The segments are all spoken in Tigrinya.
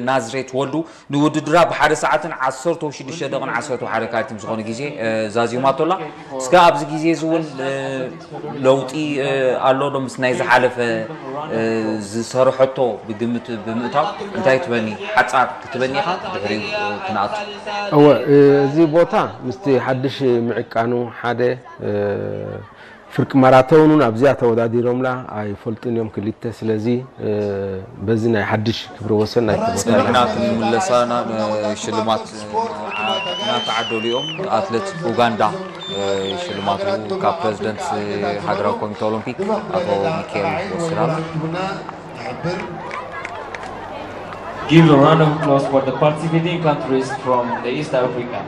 ናዝሬት ወልዱ ንውድድራ ብሓደ ሰዓትን ዓሰርተ ሽዱሽተ ደቂቕን ዓሰርተ ሓደ ካሊትን ዝኾነ ግዜ ዛዚማቶ ኣላ። እስከ ኣብዚ ግዜ እዚ እውን ለውጢ ኣሎ ዶ? ምስ ናይ ዝሓለፈ ዝሰርሐቶ ብግምት ብምእታው እንታይ ትበኒ? ሓጻር ክትበኒ ኢኻ፣ ድሕሪኡ ክንኣቱ። እወ፣ እዚ ቦታ ምስቲ ሓድሽ ምዕቃኑ ሓደ፣ ፍርቂ ማራቶን እውን ኣብዚኣ ተወዳዲሮምላ ኣይፈልጡን እዮም ክልተ። ስለዚ በዚ ናይ ሓድሽ ክብረ ወሰን ናይ ክብረ ወሰን። ሰሚግና ክንምለሳ ናብ ሽልማት እናተዓደሉ እዮም። ኣትሌት ኡጋንዳ ሽልማቱ ካብ ፕሬዝደንት ሃገራዊ ኮሚቴ ኦሎምፒክ ኣቶ ሚካኤል ወስናም። Give a round of applause for the participating countries from the East Africa.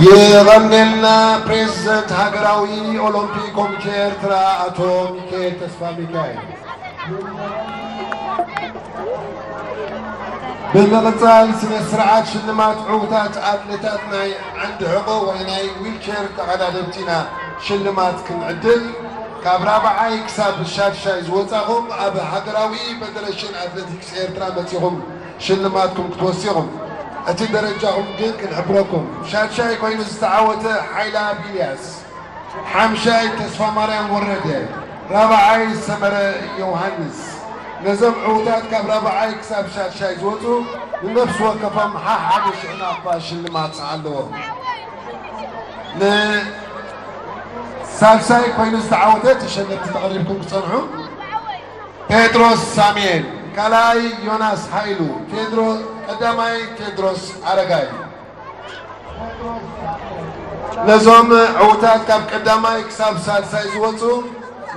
የቐንየልና ፕሬዝደንት ሃገራዊ ኦሎምፒክ ኮሚቴ ኤርትራ ኣቶ ሚካኤል ተስፋ ሚካኤል። ብምቕጻል ስነ ስርዓት ሽልማት ዕውታት ኣትሌታት ናይ ዓንዲ ሕቖ ወይ ናይ ዊልቸር ተቐዳደምቲ ኢና ሽልማት ክንዕድል። ካብ ራብዓይ ክሳብ ሻድሻይ ዝወጻኹም ኣብ ሃገራዊ ፌደሬሽን ኣትሌቲክስ ኤርትራ መጺኹም ሽልማትኩም ክትወስኹም። እቲ ደረጃኹም ግን ክንሕብረኩም። ሻድሻይ ኮይኑ ዝተዓወተ ሓይላ ኢልያስ፣ ሓምሻይ ተስፋ ማርያም ወረደ፣ ራብዓይ ሰመረ ዮሃንስ። ነዞም ዕውታት ካብ ራብዓይ ክሳብ ሻድሻይ ዝወጹ ንነፍሲ ወከፎም ሓሓደ ሽሕ ናቕፋ ሽልማት ኣለዎም። ንሳልሳይ ኮይኑ ዝተዓወተ ተሸለምቲ ተቐሪብኩም ክጸንሑ። ጴጥሮስ ሳሙኤል፣ ካልኣይ ዮናስ ሃይሉ፣ ቴድሮ-፣ ቀዳማይ ቴድሮስ ኣረጋይ። ነዞም ዕውታት ካብ ቀዳማይ ክሳብ ሳልሳይ ዝወጹ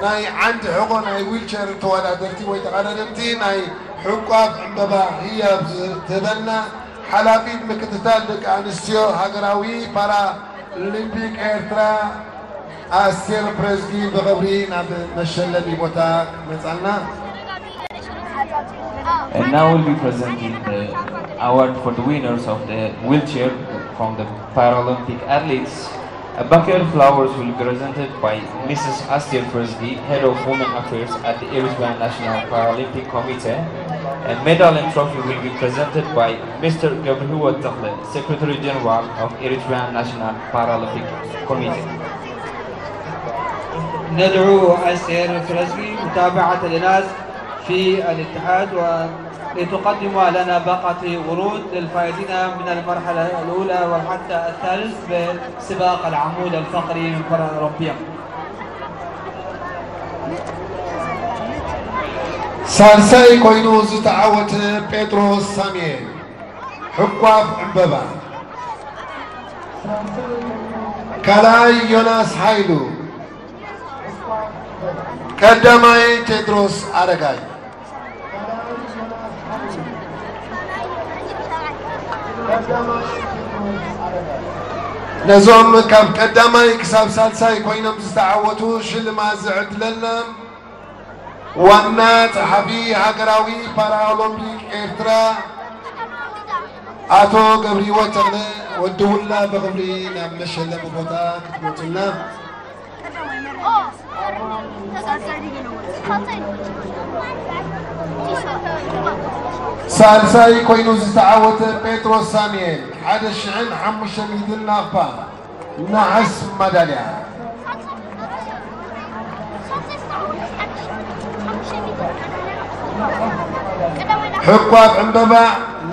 ናይ ዓንዲ ሕቖ ናይ ዊልቸር ተወዳደርቲ ወይ ተቐዳደምቲ ናይ ሕቋፍ ዕምበባ ህያብ ዝህበና ሓላፊት ምክትታል ደቂ ኣንስትዮ ሃገራዊ ፓራ ኦሊምፒክ ኤርትራ ኣስቴር ፕረዝጊ ብኽብሪ ናብ መሸለሚ ቦታ ክትመጻልና። And now we'll be presenting the award for the winners of the wheelchair from the Paralympic athletes. A bouquet of flowers will be presented by Missus Aster Frisgi, Head of Women Affairs at the Eritrean National Paralympic Committee. A medal and trophy will be presented by Mister Gabriel Takhle, Secretary General of Eritrean National Paralympic Committee. ندعو أستير فرزقي متابعة لناس في الاتحاد و لتقدم لنا باقة ورود للفائزين من المرحلة الأولى والحتى الثالث بسباق العمود الفقري من فرع أوروبيا. ሳልሳይ ኮይኑ ዝተዓወተ ጴጥሮስ ሳሙኤል ሕቋፍ ዕምበባ፣ ካልኣይ ዮናስ ሃይሉ፣ ቀዳማይ ቴድሮስ ኣረጋይ። ነዞም ካብ ቀዳማይ ክሳብ ሳልሳይ ኮይኖም ዝተዓወቱ ሽልማት ዝዕድለና ዋና ጸሓፊ ሃገራዊ ፓራኦሎምፒክ ኤርትራ ኣቶ ገብርሂወት ተኽለ ወዲ ውላ ብኽብሪ ናብ መሸለሚ ቦታ ክትመጹና። ሳልሳይ ኮይኑ ዝተዓወተ ጴጥሮስ ሳሙኤል ሓደ ሽሕን ሓሙሽተ ሚእትን ናቕፋ ነሓስ ማዳልያ። ሕቋፍ ዕምበባ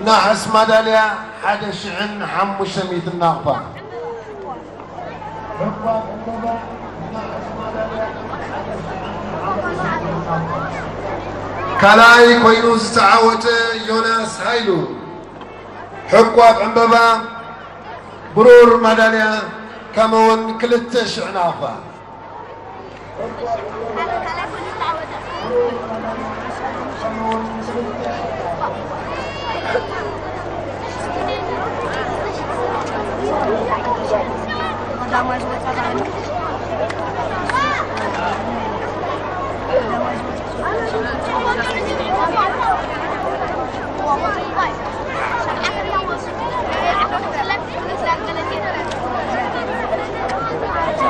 ነሓስ ማዳልያ ሓደ ሽሕን ሓሙሽተ ሚእትን ናቕፋ። ካልኣይ ኮይኑ ዝተዓወተ ዮናስ ሃይሉ፣ ሕቋፍ ዕምበባ፣ ብሩር ማዳልያ፣ ከምኡውን ክልተ ሽሕ ናቕፋ።